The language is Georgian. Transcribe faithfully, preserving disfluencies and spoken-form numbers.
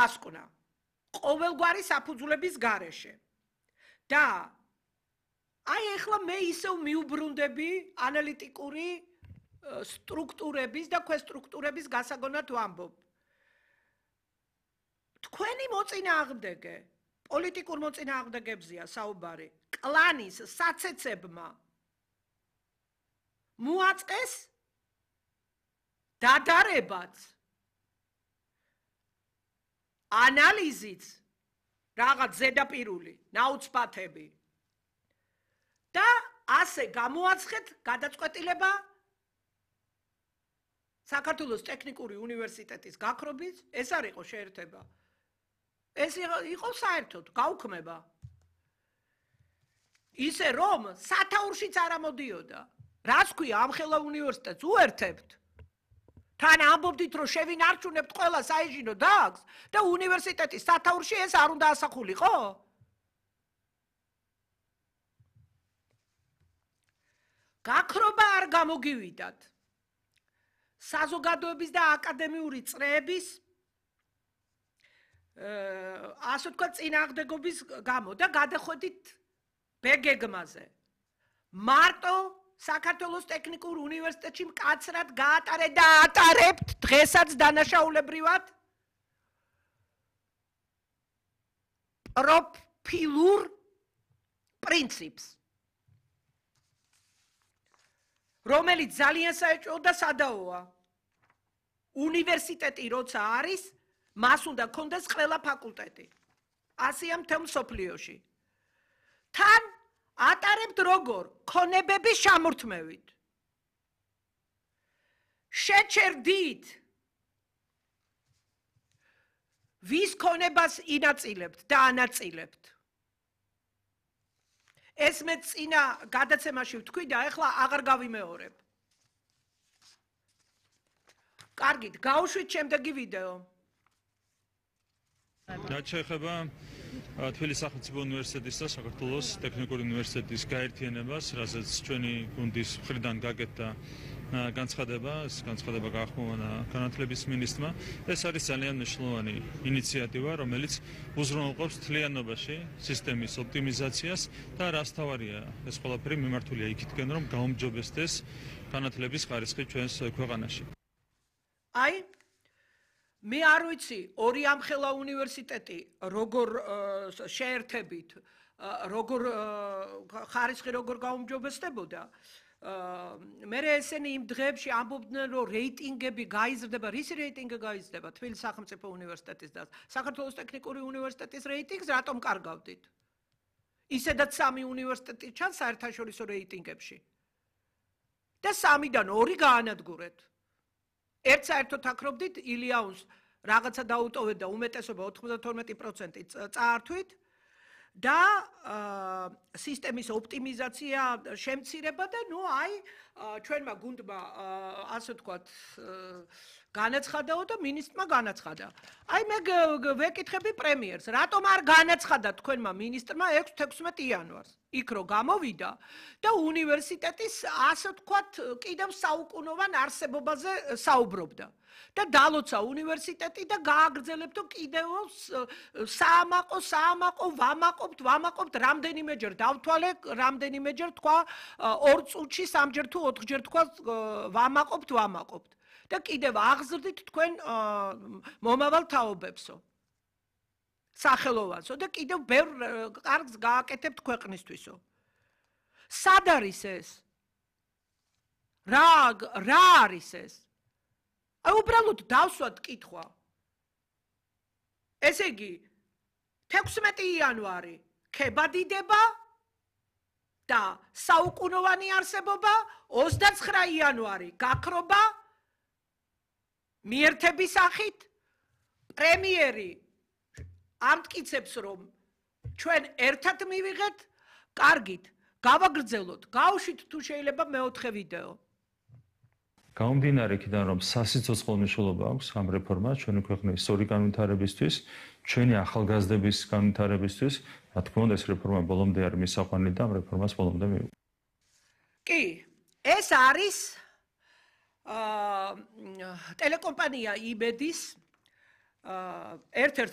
დასკვნა ყოველგვარი საფუძვლების გარეშე. და აი ეხლა მე ისევ მიუბრუნდები ანალიტიკური სტრუქტურების და ქვესტრუქტურების გასაგონად ვამბობ. თქვენი მოწინააღმდეგე, პოლიტიკურ მოწინააღმდეგებზია საუბარი, კლანის საცეცებმა მოაწყეს დადარებაც, ანალიზიც, რაღაც ზედაპირული, ნაუცბათები და ასე გამოაცხეთ გადაწყვეტილება საქართველოს ტექნიკური უნივერსიტეტის გაქრობის, ეს არ იყო შეერთება. ეს იყო საერთოდ გაუქმება. ისე რომ სათაურშიც არ ამოდიოდა. რას ქვია ამ ხელა უნივერსიტეტს უერთებთ? თან ამბობდით რომ შევინარჩუნებთ ყველა საინჟინრო დარგს და უნივერსიტეტის სათაურში ეს არ უნდა ასახულიყო? გაქრობა არ გამოგივიდათ. საზოგადოების და აკადემიური წრეების ასე ვთქვათ წინააღმდეგობის გამო და გადახვედით ბეგეგმაზე. მარტო საქართველოს ტექნიკურ უნივერსიტეტში მკაცრად გაატარეთ და ატარებთ დღესაც დანაშაულებრივად პროფილურ პრინციპს, რომელიც ძალიან საეჭვო და სადაოა. უნივერსიტეტი როცა არის, მას უნდა გქონდეს ყველა ფაკულტეტი. ასეა მთელ მსოფლიოში. თან ატარებთ როგორ? ქონებების შემორთმევით. შეჩერდით ვის ქონებას ინაწილებთ და ანაწილებთ. ეს მე წინა გადაცემაში ვთქვი და ეხლა აღარ გავიმეორებ. კარგით, გავუშვით შემდეგი ვიდეო. რაც შეეხება თბილისის სახელმწიფო უნივერსიტეტის და საქართველოს ტექნიკური უნივერსიტეტის გაერთიანებას, რასაც ჩვენი გუნდის მხრიდან გაკეთდა განცხადება, ეს განცხადება გაახმოვანა განათლების მინისტრმა. ეს არის ძალიან მნიშვნელოვანი ინიციატივა, რომელიც უზრუნველყოფს მთლიანობაში სისტემის ოპტიმიზაციას და რას თავარია, ეს ყველაფერი მიმართულია იქითკენ, რომ გაუმჯობესდეს განათლების ხარისხი ჩვენს ქვეყანაში. აი მე არ ვიცი ორი ამხელა უნივერსიტეტი როგორ შეერთებით, როგორ ხარისხი როგორ გაუმჯობესდებოდა. მე ესენი იმ დღეებში ამბობდნენ რომ რეიტინგები გაიზრდება, რისი რეიტინგი გაიზრდება? თბილისის სახელმწიფო უნივერსიტეტის და საქართველოს ტექნიკური უნივერსიტეტის რეიტინგს რატომ კარგავდით? ისედაც სამი უნივერსიტეტი ჩანს საერთაშორისო რეიტინგებში. და სამიდან ორი გაანადგურეთ. ერთ საერთოდ აკრობდით ილიაუს რაღაცა დაუტოვეთ და უმეტესობა ოცდათორმეტი პროცენტი წაართვით და სისტემის ოპტიმიზაცია შემცირება და ნუ აი ჩვენმა გუნდმა ასე ვთქვათ განაცხადაო და მინისტრმა განაცხადა. აი მე ვეკითხები პრემიერს, რატომ არ განაცხადა თქვენმა მინისტრმა ექვსი-თექვსმეტი იანვარს? იქ რო გამოვიდა და უნივერსიტეტის ასე ვთქვათ კიდევ საუკუნოვან არსებობაზე საუბრობდა. და დალოცა უნივერსიტეტი და გააგრძელებდო კიდევ საამაყო, საამაყო, ვამაყობთ, ვამაყობთ, რამდენიმეჯერ დავთვალე, რამდენიმეჯერ თქვა ორ წუთში, სამჯერ თუ ოთხჯერ თქვა ვამაყობთ, ვამაყობთ. და კიდევ აღზრდით თქვენ მომავალ თაობებსო. სახელოვანსო და კიდევ ბევრ კარგს გააკეთებთ ქვეყნისთვისო. სად არის ეს? რა რა არის ეს? აი უბრალოდ დავსვათ კითხვა. ესე იგი თექვსმეტი იანვარი ქებადიდება და საუკუნოვანი არსებობა, ოცდაცხრა იანვარი გაქრობა მიერთების სახით, პრემიერი ამტკიცებს რომ ჩვენ ერთად მივიღეთ, კარგით, გავაგრძელოთ, გავუშვით თუ შეიძლება მეოთხე ვიდეო. გამომდინარე იქიდან რომ სასიცოცხლო მნიშვნელობა აქვს ამ რეფორმას ჩვენი ქვეყნის სწორი განვითარებისთვის, ჩვენი ახალგაზრდების განვითარებისთვის, რა თქმა უნდა ეს რეფორმა ბოლომდე არის მისაყვანილი და ამ რეფორმას ბოლომდე მივიღოთ. კი, ეს არის აა ტელეკომპანია იბედის ერთ-ერთ